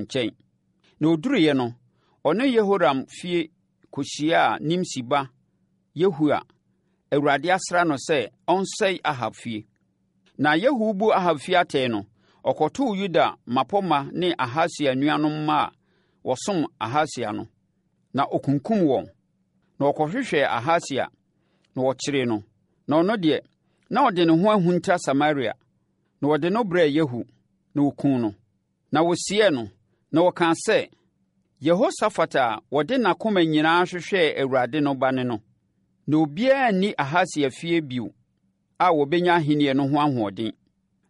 nkyɛn. Na ɔduruiɛ no, ɔne Yehoram fie kɔhyiaa Nimsi ba Yehu a Awurade asra no sɛ ɔnsɛe Ahab fie. Na Yehu rebu Ahab fie atɛn no, ɔkɔtoo Yuda mmapɔmma ne Ahasia nuanom mma a wɔsom Ahasia no, na ɔkunkum wɔn. Na ɔkɔhwehwɛɛ Ahasia, na wɔkyeree no. Na ɔno deɛ, na ɔde ne ho ahunta Samaria. Na wɔde no brɛɛ Yehu, na wɔkuu no. Na wɔsiee no, na wɔkaa sɛ, Yehosafat a ɔde n'akoma nyinaa hwehwɛɛ Awurade no ba ne no. Na obiara nni Ahasia fie bio a ɔbɛnya ahennie no ho ahoɔden.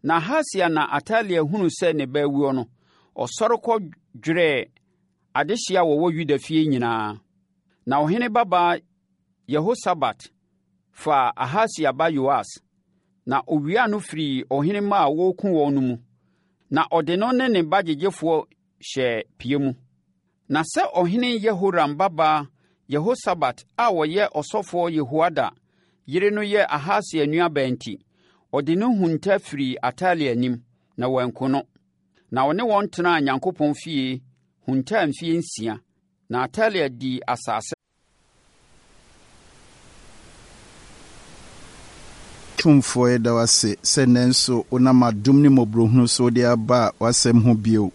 Na Ahasia na Atalia hunuu sɛ ne ba awuo no, ɔsɔre kɔdwerɛɛ adehyeɛ a wɔwɔ Yuda fie nyinaa. Na ɔhene babaa Yehosabat faa Ahasia ba Yoas, na ɔwiaa no firii ɔhene mma a wɔreku wɔn no mu, na ɔde no ne ne ba gyegyefoɔ hyɛɛ pia mu. Na sɛ ɔhene Yehoram babaa Yehosabat a ɔyɛ ɔsɔfoɔ Yehoiada yere no yɛ Ahasia nuabaa nti, ɔde no hunta firii Atalia anim, na wanku no. Na ɔne wɔn tenaa Nyankopɔn fie huntaa mfeɛ nsia, na Atalia dii asase Tumfoɔ, yɛda wo ase sɛ nnɛ nso wonam adom ne mmɔborɔhunu so wode aba w'asɛm ho bio.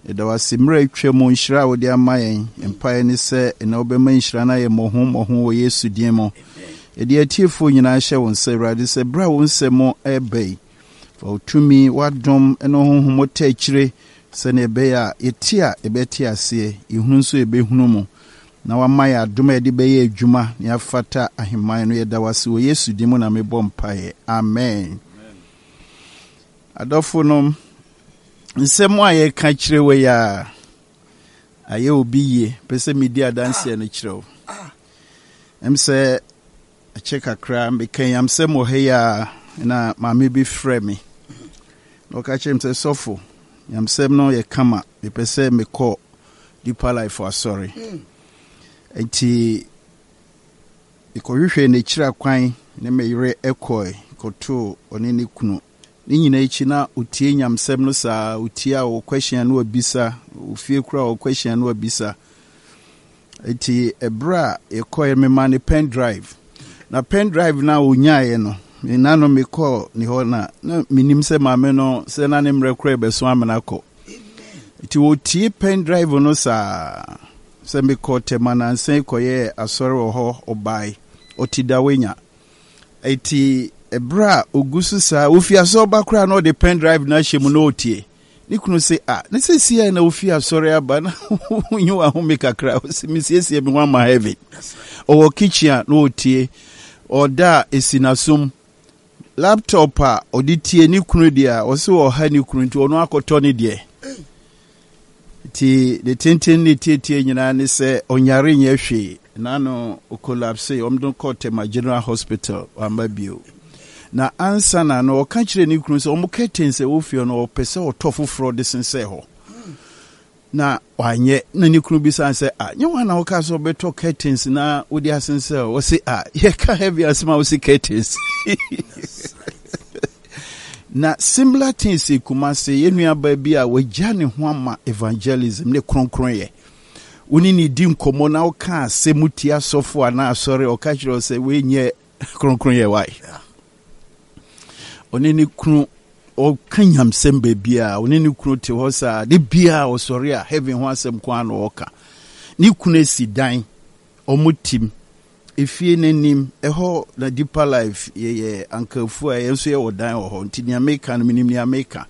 Yɛda wo ase mmerɛ a atwa mu nhyira a wode ama yɛn. Yɛn mpaeɛ ne sɛ nnɛ wobɛma nhyira no ayɛ mmɔho mmɔho wɔ Yesu din mu. Yɛde atiefoɔ nyinaa hyɛ wo nsa, Awurade, sɛ berɛ a wo nsɛm reba yi, Fa wo tumi, w'adom, ne wo honhom ta akyire sɛdeɛ ɛbɛyɛ a yɛte a yɛbɛte aseɛ, yɛhunu nso yɛbɛhunu mu, na wama yɛn adom a yɛde bɛyɛ adwuma na yɛafata ahemman no. Yɛda wo ase wɔ Yesu din mu na mebɔ mpaeɛ. Amen. Adɔfo nom, nsɛm a yɛka kyerɛ wɔ yi a ayɛ obi yie, pɛ sɛ medi adanseɛ no kyerɛ wo. Ɛm sɛ Akyɛ kakra, meka nyamsɛm wɔ ha yi a, na maame bi frɛ me. Na ɔka kyerɛ me sɛ, sɔfo, nyamsɛm no yɛ kama, mepɛ sɛ mekɔ Deeper Life asɔre. Nti, mekɔhwehwɛɛ n'akyiri akwan ne me yere kɔe kɔtoo ɔne ne kunu. Ne nyinaa akyi na ɔtie nyamsɛm no saa, ɔtie a ɔwɔ question a na wabisa, ofie koraa ɔwɔ question a na wabisa. Enti ɛberɛ a yɛkɔeɛ no, memaa no pen drive. Na pen drive no a ɔnyaeɛ no, me na no mekɔɔ ne hɔ na na menim sɛ maame no sɛ na ne mmerɛ koraa ɛbɛso amena kɔ. Nti wɔtie pen drive no saa sɛ mekɔɔ Tema nansa yi kɔyɛɛ asɔre wɔ hɔ ɔbae ɔte Dawenya. Enti ɛberɛ a ɔgu so saa ɔfi asɔre ba koraa na ɔde pen drive no ahyɛ mu na ɔretie. Ne kunu se, Ah, ne seesei na wofi asɔre aba na wonyi w'ahome kakra. Ɔse, mesiesie me ho ama heaven. Ɔwɔ kitchen a na ɔretie. Ɔda a esi n'asom. Laptop a ɔde tie ne kunu deɛ a, ɔse ɔha ne kunu nti ɔno akɔtɔ ne deɛ. Nti ne tenten ne tietie nyinaa ne sɛ ɔnyare nyɛ hwee. N'ano ɔkolapse, wɔde no kɔɔ Tema General Hospital, wamma bio. Na ansa na no ɔka kyerɛɛ ne kunu sɛ wɔn curtains a ɛwɔ fie hɔ no ɔpɛ sɛ ɔtɔ foforɔ de sensɛn hɔ. Na wanyɛ. Na ne kunu bisa no sɛ, ah, nyɛ wɔn na wokaa sɛ ɔbɛtɔ curtains na wode asensɛn hɔ? Ɔse, ah, yɛka heavy asɛm a wose curtains. Na similar things si Kumasi, yɛn nuabaa bi a wagya ne ho ama evangelism ne kronkronyɛ. Wo ne ne di nkɔmmɔ na woka asɛm tia asɔfo anaa asɔre, ɔka kyerɛ wo sɛ wei nyɛ kronkronyɛ wae. Ɔne ne kunu ɔka nyamsɛm baabiara, ɔne ne kunu te hɔ saa, de biara ɔsɔre a heaven ho asɛm ko ara na ɔka. Ne kunu asi dan, wɔn tim, efie no anim, ɛhɔ na Deeper Life yɛyɛ ankafu a yɛn nso yɛwɔ dan wɔ hɔ, nti nea meka no menim nea meka.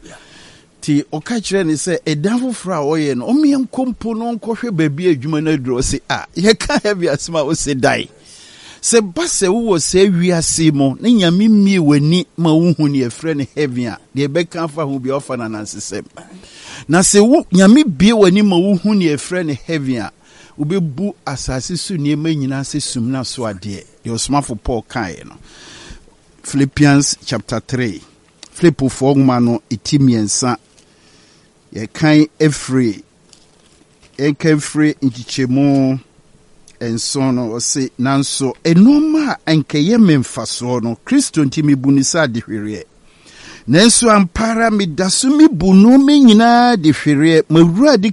Nti ɔka kyerɛɛ no sɛ ɛdan foforɔ a ɔyɛ no ɔmeɛ nkɔ mpo no ɔnkɔhwɛ baabi a adwuma no aduru. Ɔse a yɛka heavy asɛm a ɔse dan. Sɛ ba sɛ wowɔ saa wiase mu na Nyame mmie w'ani ma wohu nea ɛfrɛ no heaven a, deɛ ɛbɛka afa ho bia ɔfa no anansesɛm. Na sɛ wo Nyame bie w'ani ma wohu nea ɛfrɛ no heaven a, wobɛbu asase so nneɛma nyinaa sɛ sumina so adeɛ, deɛ ɔsomafo Paul kaeɛ no. Philippians chapter 3, Filipofoɔ nwoma no ti mmiɛnsa, yɛkan firi yɛnkan firi nkyekyɛmu nson no, ɔse, nanso nnoɔma a anka ɛyɛ me mfasoɔ no, Kristo nti mebu no sɛ adehwereɛ. Nanso ampa ara meda so mebu nnoɔma nyinaa adehwereɛ, m'Awurade.